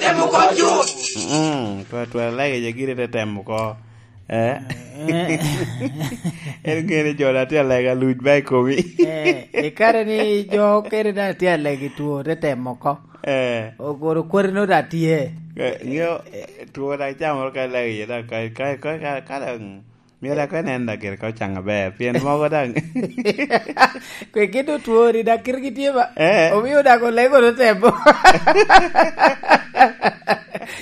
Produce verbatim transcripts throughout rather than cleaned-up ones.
Temo oko cut. Mm, twatwa lege je gire te temo oko. Eh? En ŋene jo na tye alega luc ba i komi. Eh, i kare ni jo kene da tye alega i two te temo oko. Eh. Ogoro kwari no da tye. Eh, ŋeo, eh, two da camoro ka lege iye da, ka, ka, ka, ka, ka da, mm, myero da kwe nen da gire ka ocaŋ aber, pien mogo daŋ. Kwe kit otwori da kirgi tye ba? Eh. Omio da ko lego no temo.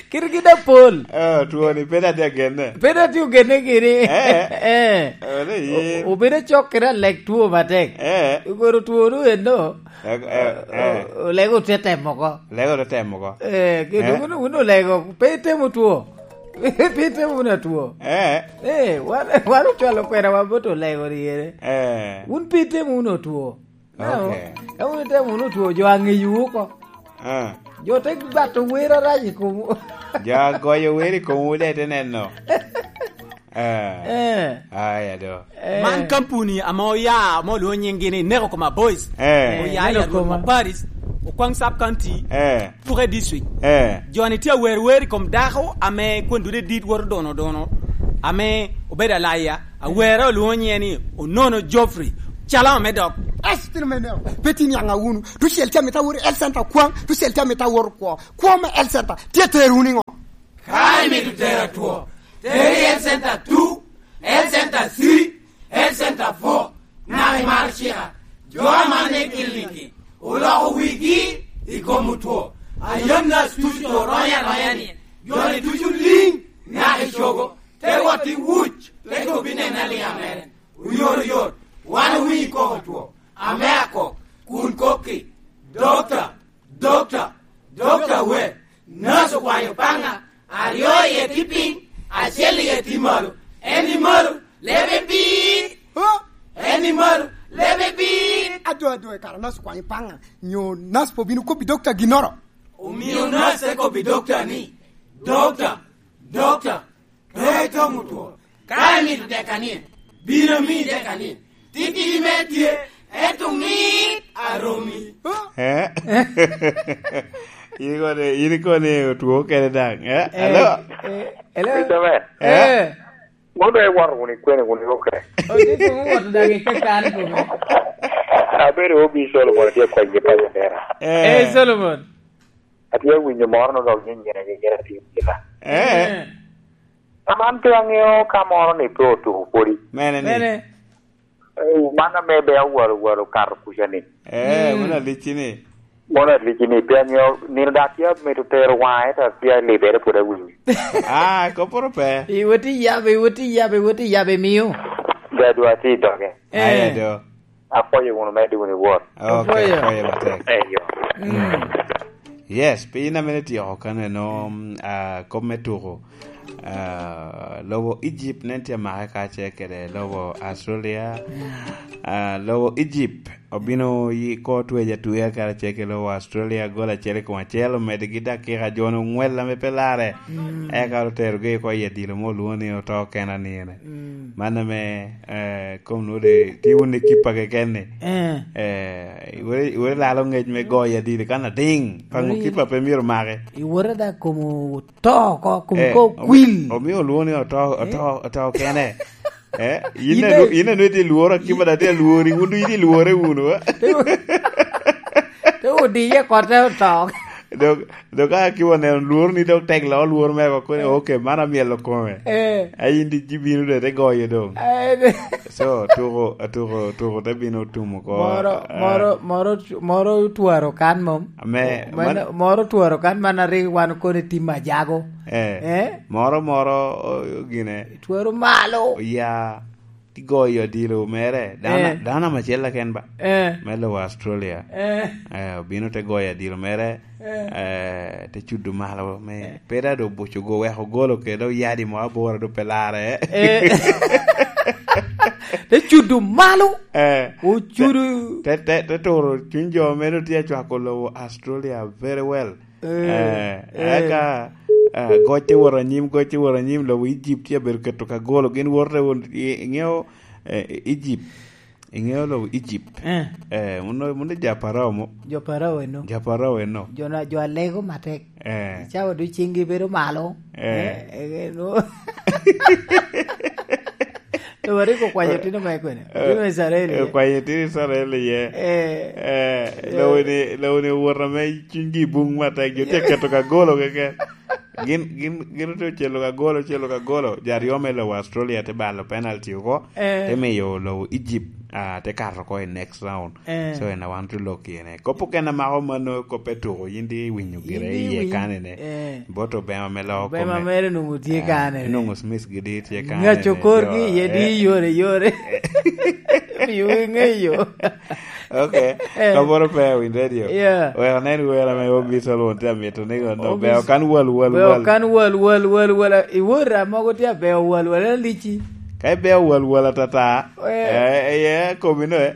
Kirgi da pol. Oh, twoni pe da tye agenne. Pe da tye ogenne gini. Eh. Eh. Ole yin. O-, obedo cok kede alek two matek. Eh. Ogoro two no eno. Eh, eh, eh. O-, olego te temo oko. Lego te temo oko. Eh, kendo Eh. wun, wun olego, pe itemo two. Pe itemo wun atwo. Eh. Eh, wan, wan ocwalo kwena wa bot olego ryere. Eh. Wun pe itemo wun otwo. No, okay. Ka wun itemo wun otwo, jo aŋeyo oko. Eh. Jo te bato wer arac i komwu. Jo agoyo wer i komwu de te neno. Eh. Eh. Aya do. Eh. Man kampuni ame oya, ame olwongo nyinggi ni Neko Koma Boys. Eh. Oya i Neko Koma. Paris, Okwaŋ Sub County, Eh. Tuke District. Eh. Jo-ni tye awer wer i kom dako ame kwon dude dit woto dono dono, ame obedo alaya. Awere olwongo nyinge ni Onono Geoffrey. Calo ame dok. Estino me Neko. Pe tin yaŋa wunu. Tucel tye amito awot i health center kwaŋ, tucel tye amito awot kwo. Kwo me health center tye tero wunu i ŋo? Ka imito tero atwo, teri health center two, health center three, health center four, naka imaro cika. Jo aman i kiliniki oloko wigi i kom otwo. Ayam nas tucu oronya aronya ni, jo-ni tucu liŋ naka i cogo, te wot i wuc, te kobbi nene aliŋ amere. Oyot oyot, wan owinyo i koko two, ame akok, kun kokki, "Dokta, dokta, dokta we, nas okwanyo paŋa, aryo iye tye piny, acel iye tye malo. En i malo, lebe piny. Huh? En i malo, lebe piny." Ado, ado, e kara nas okwanyo paŋa, nyo nas pe obino kobbi dokta ginnoro? Omio nas te kobbi dokta ni, "Dokta, dokta, pe itomo two. Ka imito dek anie, bino ami dek anie. Titidi me tye, ento mit aromi." Eh? In kone, in kone otwo kene daŋ. Eh? Eh, Alo? Eh, hello? Christopher. Eh? Eh. Mono iwoto wunu i kwene wunu i okre? Otye kong owoto daŋ i kakare kome. Abedo obi Solomon, atye akwayi paco dera. Eh. Eh, Solomon. Atye awinyo moro no dok nyenyere, nyenyere atye awinyo. Eh. Eh. Aman pe aŋeo ka moro ni pe otuko pwodi. Mene ni? Mene? Eh, man ame be awalo, walo kato kuca ni. Eh, mm, mano alicci ni. Mano alicci ni, pe aŋeo, nino da tye amito tero waŋe, ento tye alibere pwod awinyo. Ah, koporo pe. Iwoti yabe, iwoti yabe, iwoti yabe miyo. Gadwa tye i doge. Eh. Aye do. Apwoyo wunu, medde wunu i wot. Ok, apwoyo. Apwoyo matek. Eyo. Mm. Mm. Yes, piny ame ityeko kaneno, mm, ah, kop me tuko. Ah, lobo Egypt nen tye make kacel kede lobo Australia. Mm. Ah, lobo Egypt obino yi ko tweja tuya karacel kede lobo Australia, gol acel i kom acel, omedigi dakika jo onwel ame pe larre. Mm. Eka oterogi oko i adilo mo olwongo ni oto kena ni ene. Mm. Man ame, eh, kom nwodo tye wun ekipa keken ni. Eh. Eh, iwere, iwere lalo ngec me goyo adili kan ading. Paŋo kipa pe myero make? Iwere da kom oto oko, kom ko okwil. Eh, omi-, omio olwongo ni oto, eh, oto, oto kene. Eh, in ane, in ane itye lworo, akipa da tye alwori, wun ducu itye lwore wunu, eh? Te odiye kote oto. Dok, dok ka akipa oneno lworo ni dok tek loo lworo mere oko, koni, eh, ok, man amyelo kome. Eh. A in di ji bino de te goyo dong. Eh, de. So, tuko, tuko, tuko te bino tumo ko. Moro, ah, moro, moro, moro twaro kan mom. Ame, mano, man moro twaro kan man arik wan koni tim ajago. Eh. Eh? Moro, moro, o, gine. Twero malo. Oya, ti goyo adilo mere. Dano, eh, dano macel keken ba. Eh. Me lobo Australia. Eh. Eh, obino te goyo adilo mere. Eh. Eh, te cudo malo. Me, eh, pe da do buco go, weko golo kede oyadi mo aboro do pe larre. Eh. Te cudo malo. Eh. Ocudo. Te, te, te, te turo cuny jo mere tye acwako lobo Australia very well. Eh, eh, eh, eka, eh, goc te wot anyim, goc te wot anyim, lobo Egypt tye abedo keto ka golo, gin woto te wot, i-, iŋeo, eh, Egypt, Iŋeo lobo Egypt. Eh. Eh, muno, muno ja Parao mo. Jo Parao eno. Ja Parao eno. Jo na, jo alego matek. Eh. Cawa du ciŋgi bedo malo. Eh. Eh, eh, eh, no. To wari ko kwanyo tino me kwene. Eh, tino Israel, eh, ye. Kwanyo tino Israel, ye. Eh. Eh, yeah. Lobo ni, lobo ni wot ame ciŋgi buŋ matek. Jo tye keto ka golo keken. Gin, gin, gin te ocelo ka golo, ocelo ka golo. Jo aryo me lobo Australia te balo penalty oko. Eh. Te miyo lobo Egypt, ah, te kato oko i next round. Eh. So, en a wan te lok iye ne. Kop okene amako mano, kop etuko, yin di iwinyo gire iye kanene. Eh. Bot Obema me loko Obema kome. Mere nongo tye, eh, kanene. Nongo Smith gidi tye kanene. Ngaco korgi, jo, iye di, eh, yore, yore. Miyo ŋeyo. Ok. Eh. Kaboro pe Win Radio. Yeah. Wek anen wer ame Obi Solomon tye amito ni kono. Obi Beo kan wal, wal, Beo wal. Kan wal, wal, wal, wal. Iwor a mogo tye abeo wal, wal, alici. Ka ibeo wal, wal atata. Eh. Eh, eh, eh, komi no, eh.